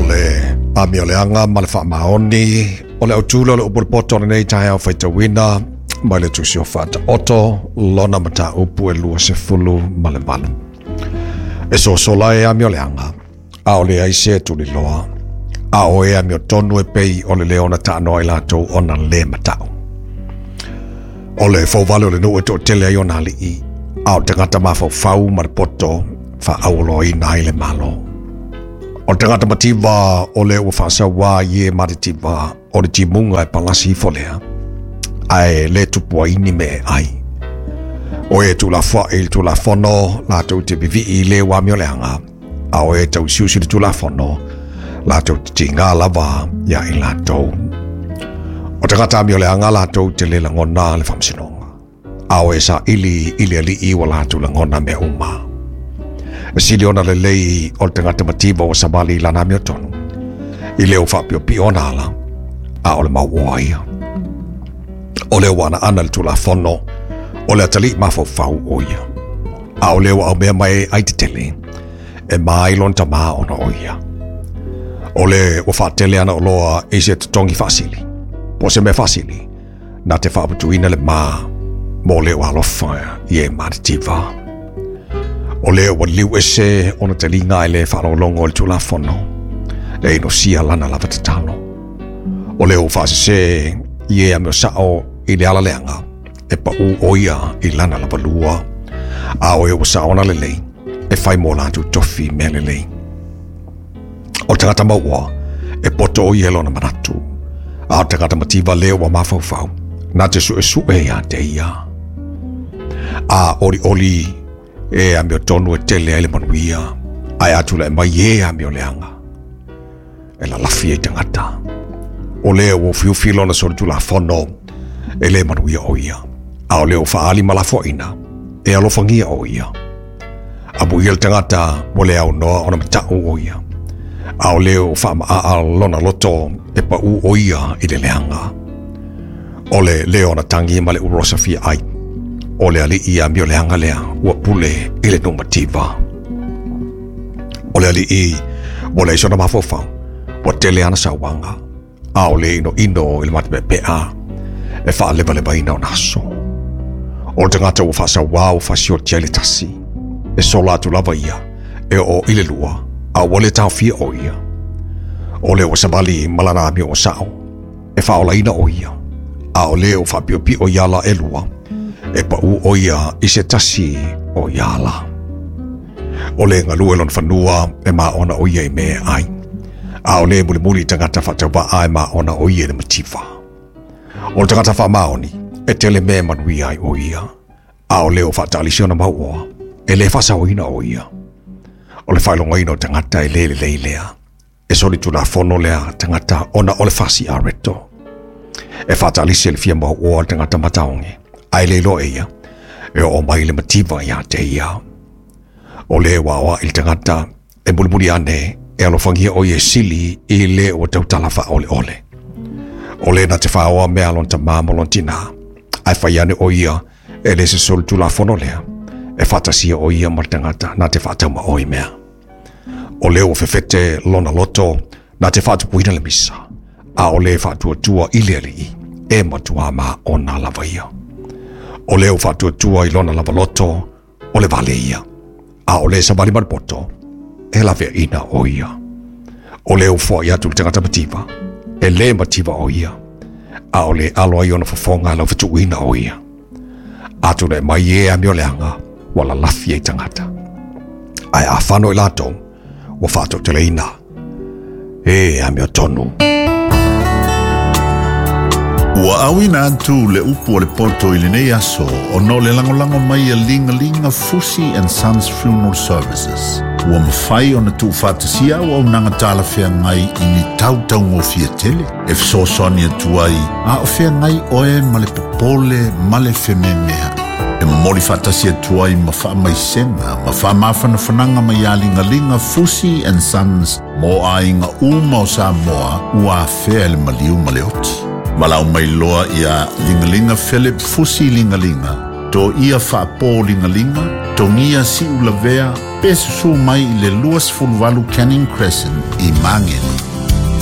le amioleaga ma le faamaoni o le autula o le upu o le poto o lenei taeao faitauina mai le Tusi o Faataoto lona mataupu e 28. E sosola e amioleaga, a o le ai se tuliloa, a o e amiotonu e pei o le leo na taanoa i latou ona le matau. O le fouvale o le nuu e toatele ai ona alii, a o le tagata mafaufau ma le poto faaauoloaina ai le Malo. O le tagata mativa o le ua faasauā i e matitiva o le timuga e palasi ifo lea, ae le tupu ai ni mea e ai. O e tuulafoai i le Tulafono latou te vivii i le ua amioleaga, a o e tausiusi i le Tulafono latou te tiga lava ia i latou. O tagata amioleaga latou te le lagona le faamasinoga, a o e saili i le Alii ua latou lagona mea uma. E sili ona lelei o le tagata mativa ua savali i lana amiotonu, i le ua faapiopio ona ala, a o le mauoa ia. O le ua anaana le Tulafono, o le atalii mafaufau o ia. A o le ua aumea mai e ai tetele, e ma ai lona tamā ona o ia. O le ua faatele ana oloa i se totogi faasili, po se mea faasili, na te faaputuina le ma mo le ua alofa i e matitiva. O le ua liu ese ona taliga e le faalogologo i le Tulafono, e inosia lana lava tatalo. O le ua faasese i e amio sao i le ala leaga, e pau o ia i lana lava lua, a o e ua saona lelei, e fai mo latou tofi mea lelei. O le tagata mauoa, e poto o ia lona manatu, a o le tagata mativa lea ua mafaufau, na te suesue ia te ia. A olioli e amiotonu e tele ai le manuia, ae a tulai mai e amioleaga, e lalafi ai tagata. O lea ua ufiufi lona solitulafono, e le manuia o ia, a o lea ua faaali ma lafoaina, e alofagia o ia. Amuia le tagata ua le aunoa ona matau o ia, a o lea ua faamaa lona loto e pau o ia i le leaga. O le leo ona tangi ma le urosa fia ai, o le alii amioleaga lea ua pule i le nuu mativa. O le alii ua leai sona mafaufau, ua tele ana sauaga, a o le inoino i le matapepea e faalevalevaina ona aso. O le tagata ua faasauā ua fasioti ai le tasi, e sola atu lava ia, e oo i le lua, a ua le taofia o ia. O le ua savali ma lana amio ua sao, e faaolaina o ia, a o le ua faapiopio i ala e lua, e pau o ia i se tasi o ia ala. O le galue lona fanua e maona o ia i mea e ai, a o le mulimuli tagata faatauvaa e maona o ia i le mativa. O le tagata faamaoni, e tele mea e manuia ai o ia, a o le o faataalisi ona mauoa, e le faasaoina o ia. O le faailogaina o tagata e le lelei lea, e solitulafono lea tagata ona o le fasi areto. E faataalisi le fia mauoa le tagata mataoge, ae le iloa e ia, e oo mai le mativa ia te ia. O le ua aoai le tagata e mulimuli ane e alofagia o ia sili i le ua tautala faaoleole. O le na te whaoa mea lona tamā ma lona tinā, ae fai ane o ia e le se solitulafono lea, e faatasia o ia ma le tagata na te faatauma oi mea. O le ua fefete lona loto na te faatupuina le misa, a o le faatuatua i le alii, e matua ma ona lava ia. O le ua faatuatua i lona lava loto, o le vale ia, a o le savali ma le poto, e laveaina o ia. O le ua foai atu le tagata mativa, e le mativa o ia, a o le alo ai ona fofoga lau fetuuina o ia. A tulai mai e amioleaga, ua lalafi ai tagata. Ae a fano i latou, ua faatoateleina e amiotonu. Ua auina atu le upu o le poto i lenei aso ona o le lagolago mai a Ligalinga Fusi and Sons Funeral Services. Ua mafai ona tuufaatasia auaunaga talafeagai i ni tautaugofie tele e fesoasoani atu ai a o feagai oe ma le popole ma le fememeai. E momoli faatasi atu ai ma faamaisega ma faamafanafanaga mai ia Ligalinga Fusi and Sons mo aiga uma o Samoa ua afea i le maliu ma le oti. Valaau mai loa ia Ligalinga Philip Fusi Ligalinga, to ia faapo Ligalinga, Togia Siulavea pe susu mai i le 28 Canning Crescent i Mageni.